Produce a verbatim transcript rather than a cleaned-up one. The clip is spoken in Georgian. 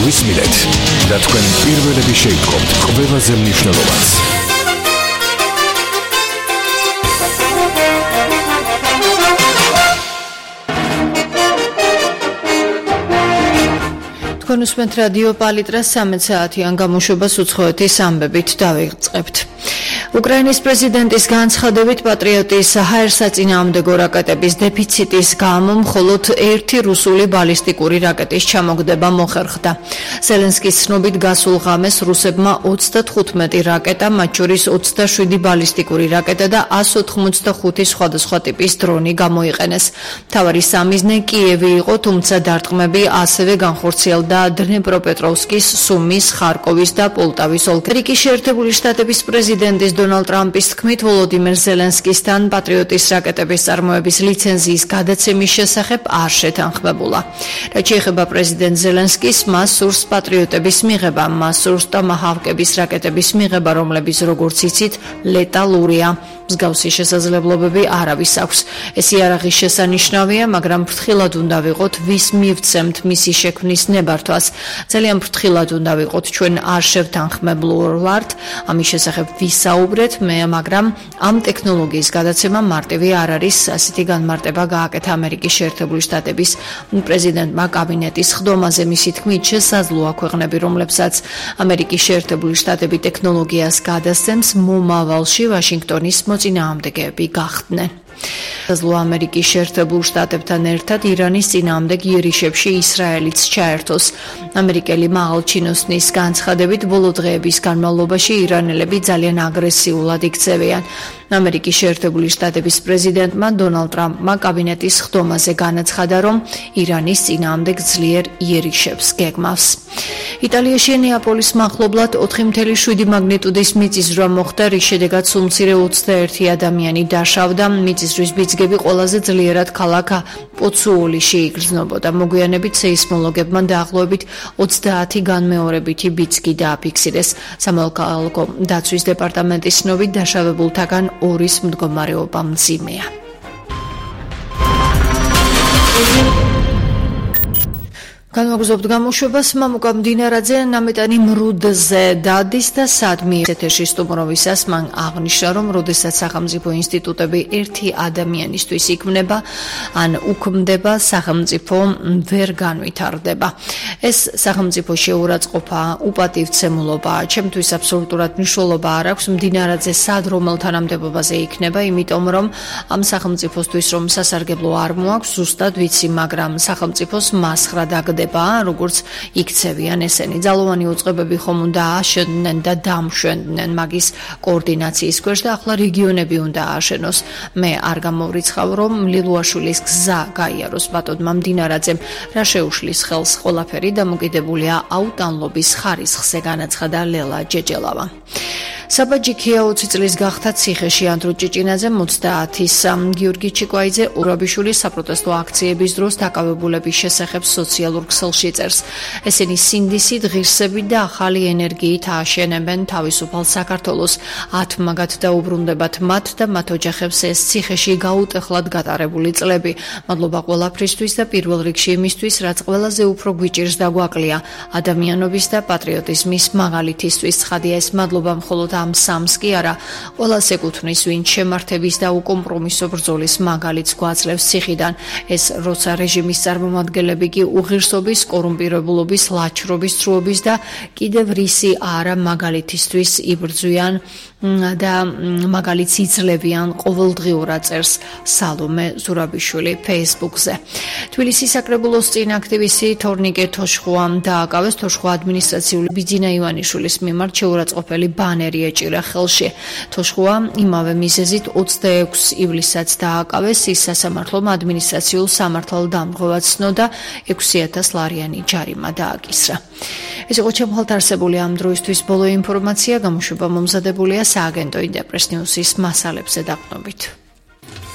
მოვისმინეთ და თქვენ პირველები შეიტყობთ ყველაზე მნიშვნელოვანს. თქვენ უსმენთ რადიო პალიტრას სამეც საათიან გამოშვებას უცხოეთის ამბებით დავიწყებთ. უკრაინის პრეზიდენტის განცხადებით პატრიოტის ჰაერსაწინააღმდეგო რაკეტების დეფიციტის გამო მხოლოდ ერთი რუსული ბალისტიკური რაკეტის ჩამოგდება მოხერხდა. ზელენსკის ცნობით გასულ ღამეს რუსებმა ოცდათხუთმეტი რაკეტა, მათ შორის ოცდაშვიდი ბალისტიკური რაკეტა და ას ოთხმოცდახუთი სხვადასხვა ტიპის დრონი გამოიყენეს. მთავარი სამიზნე კიევი იყო, თუმცა დარტყმები ასევე განხორციელდა დნეპროპეტროვსკის, სუმის, ხარკოვის და პოლტავის ოლქებში. ამერიკის შეერთებული შტატების პრეზიდენტის დონალდ ტრამპის თქმით, ვოლოდიმირ ზელენსკისთან პატრიოტის რაკეტების წარმოების ლიცენზიის გადაცემის შესახებ არ შეთანხმებულა. რაც შეეხება პრეზიდენტ ზელენსკის, მას სურს პატრიოტების მიღება, მას სურს ტომაჰავკების რაკეტების მიღება, რომლებიც, როგორც იცით, ლეტალურია. მსგავსი შესაძლებლობები არავის აქვს. ეს იარაღი შესანიშნავია, მაგრამ ფრთხილად უნდა ვიყოთ, ვის მივცემთ მისი შექმნის ნებართვას. ძალიან ფრთხილად უნდა ვიყოთ, ჩვენ არ შევთანხმებულ ვართ ამის შესახებ ვისაუბრეთ, მე, მაგრამ ამ ტექნოლოგიის გადაცემა მარტივი არ არის. ასეთი განმარტება გააკეთა ამერიკის შეერთებული შტატების პრეზიდენტმა კაბინეტის ხდომაზე. მისი თქმით, შესაძლოა ქვეყნები, რომლებსაც ამერიკის შეერთებული შტატები ტექნოლოგიას გადასცემს, მომავალში ვაშინგტონის მოწინააღმდეგეები გახდნენ. შესაძლოა ამერიკის შეერთებულ შტატებთან ერთად ირანის წინააღმდეგ იერიშებში ისრაელიც ჩაერთოს. ამერიკელი მაღალჩინოსნის განცხადებით, ბოლო დღეების განმავლობაში ირანელები ძალიან აგრესიულად იქცევიან. ამერიკის შეერთებული შტატების პრეზიდენტმა დონალდ ტრამპმა კაბინეტის ხდომაზე განაცხადა, რომ ირანის წინააღმდეგ ძლიერ იერიშებს გეგმავს. იტალიაში ნეაპოლის მახლობლად ოთხი ათეული შვიდი მაგნიტუდის მიწისძვრა მოხდა, რის შედეგად სულ მცირე ოცდაერთი ადამიანი დაშავდა. მიწისძვრის ბიძგები ყველაზე ძლიერად ქალაქ პოცუოლიში იგრძნობოდა. მოგვიანებით სეისმოლოგებმა დაახლოებით ოცდაათი განმეორებითი ბიძგი დააფიქსირეს. სამოქალაქო დაცვის დეპარტამენტის ცნობით დაშავებულთაგან ორის მდგომარეობა მძიმეა. განვაგრძობთ გამოშვებას. მამუკა მდინარაძე ნამეტანი მრუდზე დადის და სადმი ეთერში სტუმრობისას მან აღნიშნა, რომ როდესაც სახელმწიფო ინსტიტუტები ერთი ადამიანისთვის იქმნება, ან უქმდება, სახელმწიფო ვერ განვითარდება. ეს სახელმწიფო შეურაცხყოფა, უპატივცემულობა, ჩემთვის აბსოლუტურად მნიშვნელობა არ აქვს მდინარაძე სად რომელ თანამდებობაზე იქნება, იმიტომ რომ ამ სახელმწიფოსთვის რომ სასარგებლო არ მოაქვს, ზუსტად ვიცი, მაგრამ სახელმწიფოს მასხრა დაგდება, როგორც იქცევიან ესენი. ძალოვანი უწყებები ხომ უნდა აშენდნენ და დამშვენდნენ მაგის კოორდინაციის ქვეშ და ახლა რეგიონები უნდა ააშენოს. მე არ გამოვრიცხავ, რომ ლილუაშვილის გზა გაიაროს ბატონმა მდინარაძემ, რა შეუშლის ხელს ყველაფერი დამოკიდებულია აუტანლობის ხარისხზე, განაცხადა ლელა ჯეჯელავა. საბაჯიქია ოცი წლის გახდა ციხეში. ანდრო ჭიჭინაძე ოცდაათის, გიორგი ჩიკვაიძე ურაბიშვილი საპროტესტო აქციების დროს დაკავებულების შესახებ სოციალურ ქსელში წერს. ესენი სინდისით, ღირსებით და ახალი ენერგიით ააშენებენ თავისუფალ საქართველოს. ათმაგად დაუბრუნდებათ მათ და მათ ოჯახებს ეს ციხეში გაუტეხლად გატარებული წლები. მადლობა ყველაფრისთვის და პირველ რიგში იმისთვის, რაც ყველაზე უფრო გვიჭირს და გვაკლია, ადამიანობის და პატრიოტიზმის მაგალითისთვის. ცხადია, ეს მადლობა მხოლოდ ამ სამს კი არა, ყველას ეკუთვნის, ვინც შემართების და უკომპრომისო ბრძოლის მაგალითს გვაძლევს ციხიდან. ეს როცა რეჟიმის წარმომადგენლები კი უღირსობის, კორუმპირებულობის, ლაჩრობის, ცრუობის და კიდევ რისი არა მაგალითისთვის იბრძვიან და მაგალითს იძლევიან ყოველდღიურად, წერს სალომე ზურაბიშვილი ფეისბუქზე. თბილისის საკრებულოს წინ აქტივისტი თორნიკე თოშხუამ დააკავეს. თოშხუა ადმინისტრაციული ბიძინა ივანიშვილის მიმართ შეურაცხყოფელი ბანერი ეჭირა ხელში. თოშხუა იმავე მიზეზით ოცდაექვსი ივლისსაც დააკავეს. ის სასამართლომ ადმინისტრაციულ სამართალ დამღვრევად ცნო და ექვსი ათას ლარიანი ჯარიმა დააკისრა. ეს იყო ჩემხალთ არსებული ამ დროისთვის ბოლო ინფორმაცია. გამოშვება მომზადებულია სააგენტო ინტერპრეს ნიუსის მასალებზე დაყრდნობით.